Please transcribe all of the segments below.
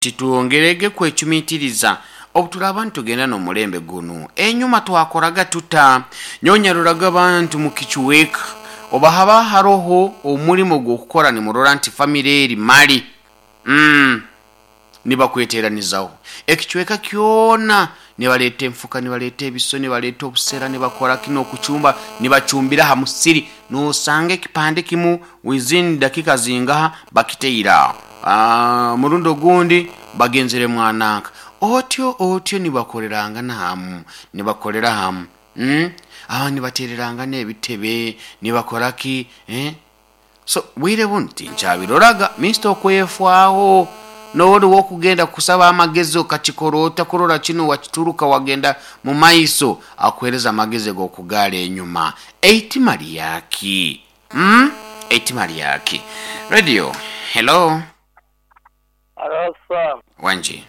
Titwongerege kwecumitiriza obu turaaba nitugenda n'omulembe gunu. Enyuma twakoraga tuta? Nyowe nyaroraga abantu mu kicweka oba haba haroho omulimo gw'okukora nimurora nti famire eri mali nibakweteranizaho. Ekicweka kyona nibaleeta enfuka, nibaleeta ebiso, nibaleeta obusera, nibakora ki n'okucumba nibacumbira ha musiri. Nosanga ekipande kimu within dakika zingaha bakitaire aho. Omurundi ogundi bagenzere mwananka. Otyo otyo nibakorerangana hamu, nibakolera hamu. Abandi nibatererangana ebitebe, nibakora ki, So bwire bunu tinkyabiroraga. Mister okwefwaho nori wokugenda kusaba amagezi okakikora ota kurora kinu wakituruka wagenda mumaiso akuhereza amagezi gokugara enyuma. Eitima lyaki? Eitima lyaki? Radio, hello. Halo Sam. Wangi.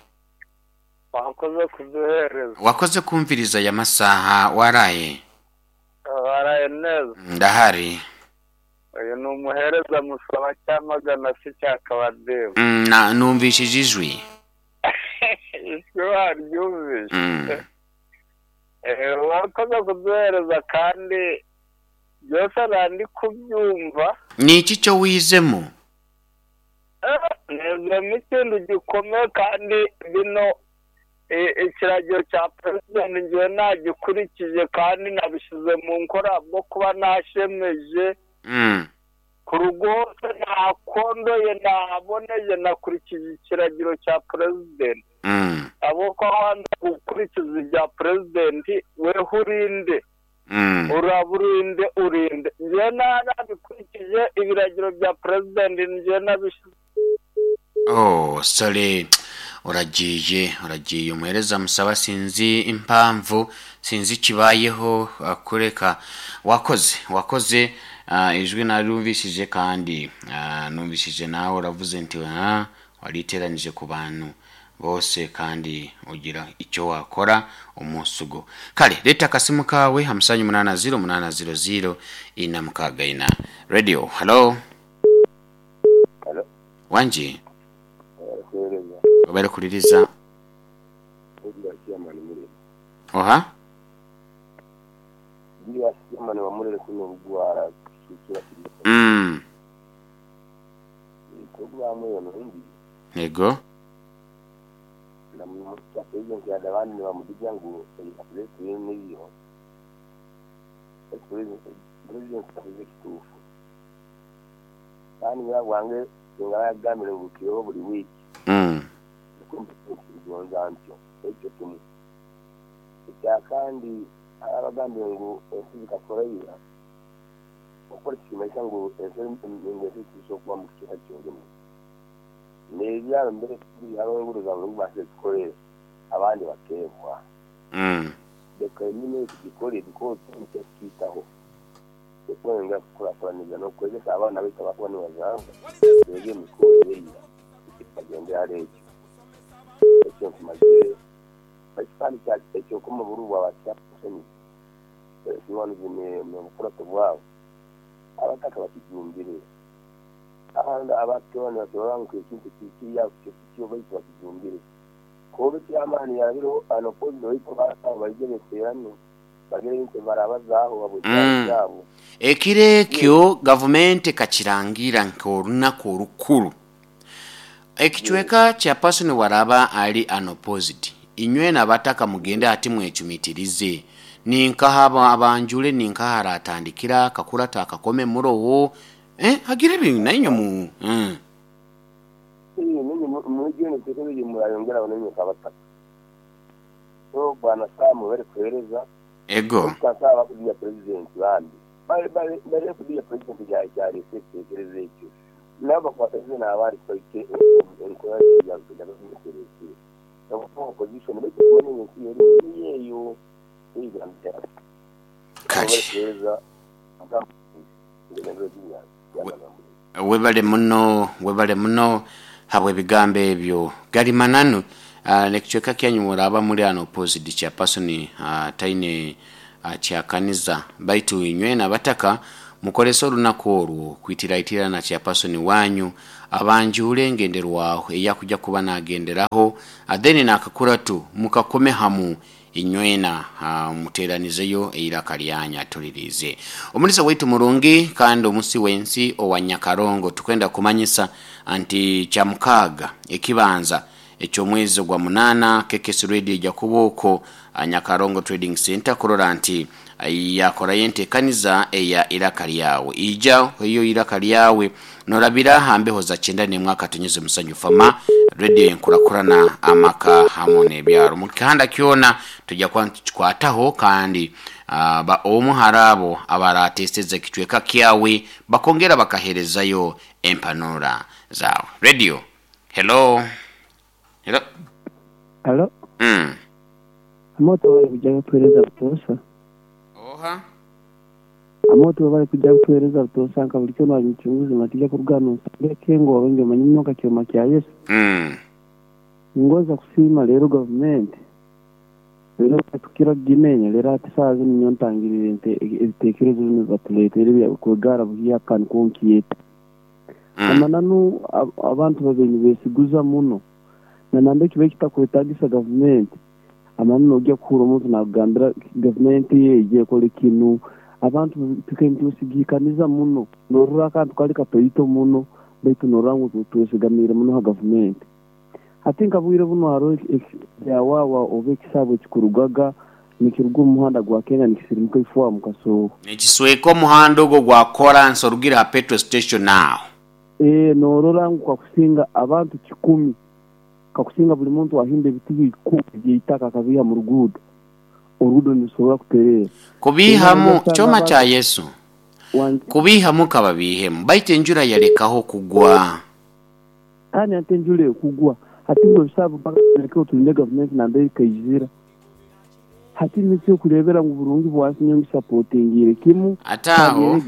Wakoze kuduhereza. Wakoze kumviriza aya masaha waraye? Waraye neza. Ndahari. Uyu ni umuhereza musaba Cyamagana se cya Kabadeba. Na numvishije ijwi. Ijwi waryumvise. Wakoze kuduhereza kandi byose nandi kubyumva. Ni iki cyo wizemo? Nizemo ikintu gikomeye kandi bino ikiragiro cya perezida ngewe nagikurikije kandi nabishyize mu nkora bwo kuba nashemeje. Ku rugo hose nakondoye nahaboneye nakurikije ikiragiro cya perezida. Abo ko wanze gukurikiza ibya perezida weho urinde. Uraba urinde urinde. Ngewe nabikurikije ibiragiro bya perezida ngewe nabishyize. Oh, sorry. Uragiye, uragiye umuhereza musaba sinzi impamvu, sinzi ikibayeho kureka. Wakoze, wakoze ijwi narumvishije kandi numvishije nawe uravuze nti wariteranije ku bantu bose kandi ugira icyo wakora umunsi ugo. Kale leta akasimu kawe 580 800 464. Radio, hello. Hello. Wanji. Obere kuliriza. Oha? Ego. Kandi abagambye ngu ensi zikakoraira okukora kikimaisa ngu ensi tusobola kuba mu kicweka kyolimu n'ebyaro mbere enguudo zaabwe ngu zikore abandi bakeebwa leka enyine tugikore because tukiitaho okwongera kukurakuraniza n'okukozesa abaana baitu abakuba nibazarwa beege emikoro eira bagendera hali ekyo ekyo nkumazire. Kandi ekyokoma oburu bwabasemi mubukurato bwabo abataka bakijumbire ahandi abatona batorora ngu ekintu kiriya kyo baitu bakijumbire kuba ekyamaani yabireho anopozi baitu baije beterane bagire nti barabazaaho babwe. Ekiro ekyo gavumenti ekakirangira nk'orunaku orukuru. Ekicweka kya Pasoni waraba ali unopposed. Inywe n'abataka mugende ati mwecumitirize. Ninkaha abanjule ninkaha aratandikira akakurata akakome muroho. Hagire ebintu nainywe mu. Mwijune tekereje murayongera banenye kabataka. So bwana Sam bari kuhereza. Ego. Kasaba kudia president bandi. Bari bari bari kudia president ya cyari tekereze ekyo. Nabo kwateze n'abari kwite enkora ya kuja kutereza. Opposition baitu kubona ensi yeri yeyo igambira. Kale. Webale muno, webale muno habwe ebigambo ebyo gali mananu. Nekicweka kyanyu muraba muri ano opposite kya person taine kyakaniza baitu inywe n'abataka mukolesa olunaku olwo kwitiraitira na chairperson wanyu Abanjuure engenderwaho eyakujja kuba nagenderaho, then nakakuratu mukakome hamu inywena, muteranizeyo eiraka lyanyu atulirize. Omulisa waitu murungi kandi omusi w'ensi owa Nyakarongo, tukwenda kumanyisa nti Kyamukaaga ekibanza eky'omwezi ogwa munaana KKS Radio eija kuba okwo Nyakarongo Trading Centre kurora nti yakorayo entekaniza eya Iraka Lyawe. Ija oheyo eiraka lyawe norabira aha mbeho za 91.7 Fama Radio enkurakurana amaka hamu n'ebyaro. Mu kihanda kyona tuja kuba nitukikwataho kandi ba omu hari abo abarateseza ekicweka kyawe bakongera bakaherezayo empanura zawe. Radio Hello Hello Halo. Amoto webale kuja kutuwereza butoosa. Oha. Amoto webale kuja kutuwereza butoosa nka buli kyona ali muchunguzi matija kuruga hanu nsanga ekengo orungi omanye muno nka kyoma kya Yesu. Ningonza kusiima leero gavumenti leero tukira kugimenya leero hati saaha zinu nyowe ntangiriire ebitekerezo binu ebibatuleteire ebya kwegara buhyaka nikwo nkyeta. Amananu abantu babaire nibesiguza muno na nambere kibaire kitakwetagisa gavumenti amananu nogya kuhurra omuntu nakugambira gavumenti eije ekole kinu abantu tukaire nitwesigikaniza muno norora akantu kali katoito muno baitu norora ngu twesigamiire muno ha gavumenti. Hati nka bwire buno haroho ekyawawa oba ekisaabu ekikurugaga nikiruga omu muhanda gwa Kenya nikisirimuka ifo mu Kasooho. Nikisweka omuhanda ogwo gwa koransi orugire ha petrol station aho. Norora ngu kakusinga abantu kikumi, kakusinga buli muntu ahimba ebitiba ikumi eby'eitaka akabiiha mu ruguudo, oruguudo nirusobora kutereera. Kubiihamu, kyoma kya Yesu, kubiihamu kababiihemu, baitu enjura yalekaho kugwa. Kandi hati enjura ekugwa, hati ngu ebisaabu mpaka tubirekeho tulinde gavumenti nambere ekaizira. Hati nikyo okureebera ngu burungi bwansi nyowe ngisapotingiire kimu. Ate aho,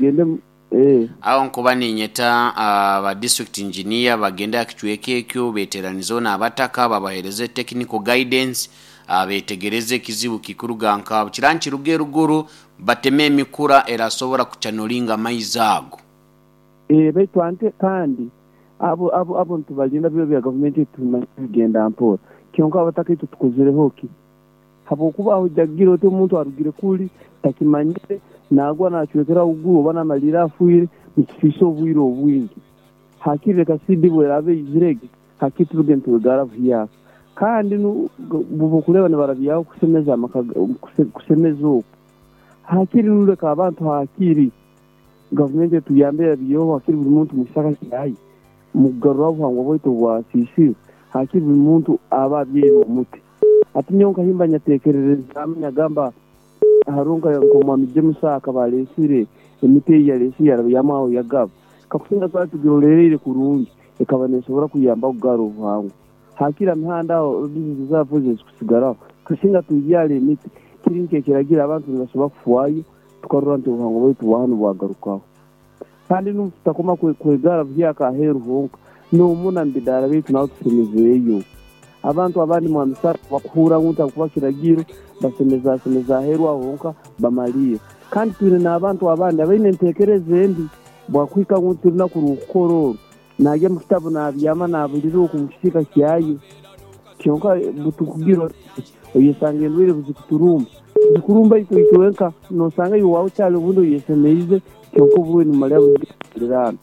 aho nkuba ninyeta ba district engineer bagende aha kicweka ekyo beteranizeho n'abataka babahereze technical guidance, betegereze ekizibu kikuruga nka kira nikiruga eruguru bateme emikura erasobora kucanolinga amaizi ago. Baitu ante kandi abo abo abo nitubalinda biro bya gavumenti tumanya bigenda mpora kyonka abataka itwe tukozireho ki? Habwokuba aho ojagira oti omuntu arugire kuli takimanyire nagwa nacwekera haiguru oba namalirra afwire nikisiisa obwire obwingi. Hakiri leka CD bweraba eizirege hakiri turuge nitwegara buhyaka. Kandi bwokureba nibarabyaho kusemeza amaka kusemeza oku hakiri nu leka abantu hakiri gavumenti etuyambe erabyeho hakiri buli muntu mukisaka kyaye mukugaruraho obuhangwa bwaitu obwasiisirwe hakiri buli muntu aba abyaire omuti. Hati nyowe nkahimba nyatekererezaamu nyagamba haroho nk'omwami James akaba aleesire emiti ei yaleesire yarabyamu aho yagaba. Kakusinga twali tugirolereire kurungi ekaba neesobora kuyamba kugarra obuhangwa. Hakiri ha mihanda aho bizinesi zaafu ezo ezikusigaraho. Kasinga tubyara emiti kiri nk'ekiragiro abantu nibasobora kufwayo tukarora nti obuhangwa bwaitu bwa hanu bwagarukaho. Kandi n'obu tutakoma kwegara buhyaka aheeru honka, n'omunda mu bidaara byaitu naho tusemezeeyo. Abantu abandi Mwami Sarah bakuhurra ngu nti habwokuba kiragiro basemezasemeza aheeru aho honka bamalirra. Kandi twine n'abantu abandi abaine enteekereza embi bwakuhika ngu nti orunaku rw'okukora oru naagya mu kitabu naabyama naabulira oku omu kisiika kyayo. Kyonka butukugira oti oyesanga endwaire buzikuturumba. Zikurumba itwe itwenka noosanga iwe owaawe kyali obundi oyesemeize kyonka oburwaire nibumalirra buzikuturiraana.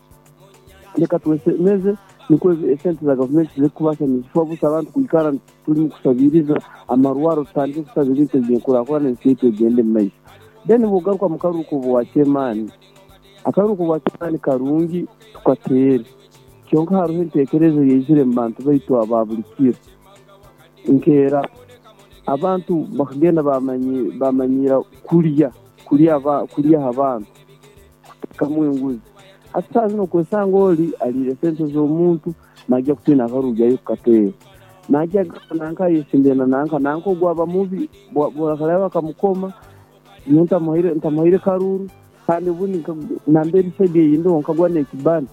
Leka twesemeze nikwo esente za gavumenti zireke kubaasa nizifa busa abantu kwikara turimu kusabiriza amarwaro tutandike kusaba ebintu eby'enkurakurana ensi yaitu egende omu maiso. Then bw'ogaruka mu karuru k'obwakyemaani, akaruru k'obwakyemaani karungi tukateere kyonka haroho enteekereza eyaizire omu bantu baitu aba buli kiro. Nkeera abantu bakagenda bamanyiira kulya kulya ha bantu kuteekamu enguzi. Hati saaha zinu okwesanga oli aliire sente z'omuntu naija kutiina akaruru gyayo kukateera. Naija kugamba nanka ayesimbire na nanka, nanka ogu aba mubi bwakaraaba bakamukoma nyowe ntamuhaire karuru kandi obundi nambere saidi eyindiho nkagwa n'ekibani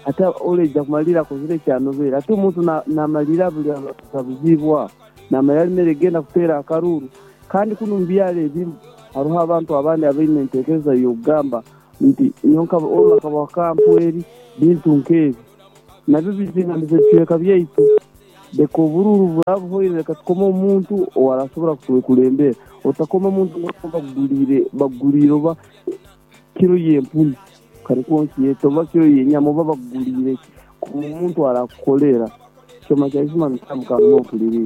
hati oli aija kumalirra akozire ekyanobere. Hati omuntu namalirra buli abuziibwe aho namalirra alemere kugenda kuteera akaruru. Kandi kunu omu byaro ebimu haroho abantu abandi abaine enteekereza y'okugamba nti nyowe olu akabaha kampu eri bintu nk'ebi. Nabyo bizingamiza ebicweka byaitu. Leka obururu buraba buhoire, leka tukome omuntu owarasobora kutwekulembera. Otakoma omuntu bakuguliire oba kiro y'empunu, kanikwo nkyete, oba kiro y'enyama, oba bakuguliire ki. Koma omuntu arakukolera. Kyoma kya Isma Mutamu, Kamuno mpuliriize.